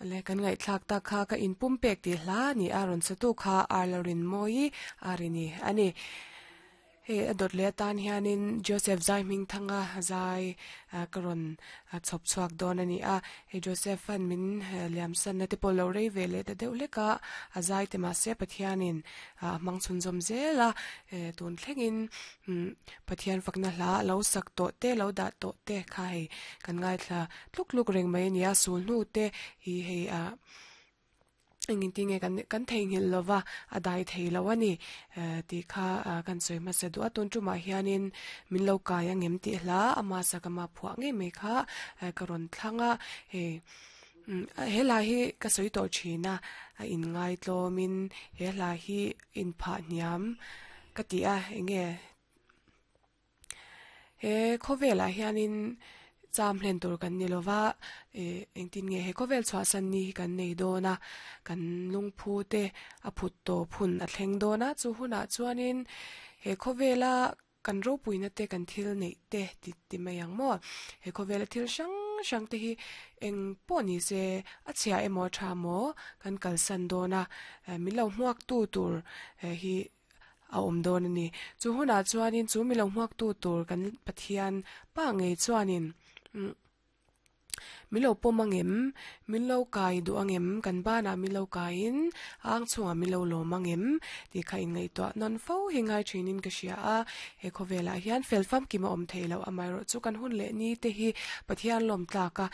Le kan ngaihthlak tak kha ka inpumpek tih hla a ni a, rawn satu kha Arlarin Mawi a ri ni a ni. Hei a dawt leh atan hianin Joseph zai hming thanga zai ka rawn chhawp chhuak dawn a ni a. Hei Joseph an min liam sanna te pawh lo rei ve leh ta deuh hlek a, a zai te mahse Pathianin a hmang chhunzawm zel a, tun thlengin Pathian fakna hla a lo sak tawh te, lo dah tawh te kha hei kan ngaithla tluk tluk reng mai a ni a, sul hnu te hi hei ah engin ti nge kan kan theihnghilh lo va, a dai thei lo a ni tih kha kan sawi hmasa duh a, tun tumah hianin min lo kai angem tih hla ama sak ama phuah ngei mai kha ka rawn thlang a, hei he hla hi ka sawi tawh thin a, a inngai tlawmin he hla hi inphah hniam ka ti a, enge He khawvelah hianin cham hlen tur kan ni lova, ih engtin nge he khawvel chhuahsan ni hi kan nei dawn a, kan lungphu te a phut tawp hun a thleng dawn a, chu hunah chuanin he khawvela kan ropuina te kan thil neih te ti ti mai ang maw, he khawvela thil hrang hrang te hi eng pawh ni se a chhia emaw a tha maw kan kalsan dawn a, min lo hmuak tu tur hi a awm dawn a ni. Chu hunah chuanin chu milo hmuaktu tur kan Pathian pa ngei chuanin umm milo pawm angem, milo kai duh angem, kan banah milo kaiin a ang chhungah milo lawm angem tih kha inngaihtuah nawn fo hi ngai thinin ka hria a. He khawvelah hian fel famkim a awm thei loh amaherawhchu kan hun leh ni te hi Pathian lawm tlak a.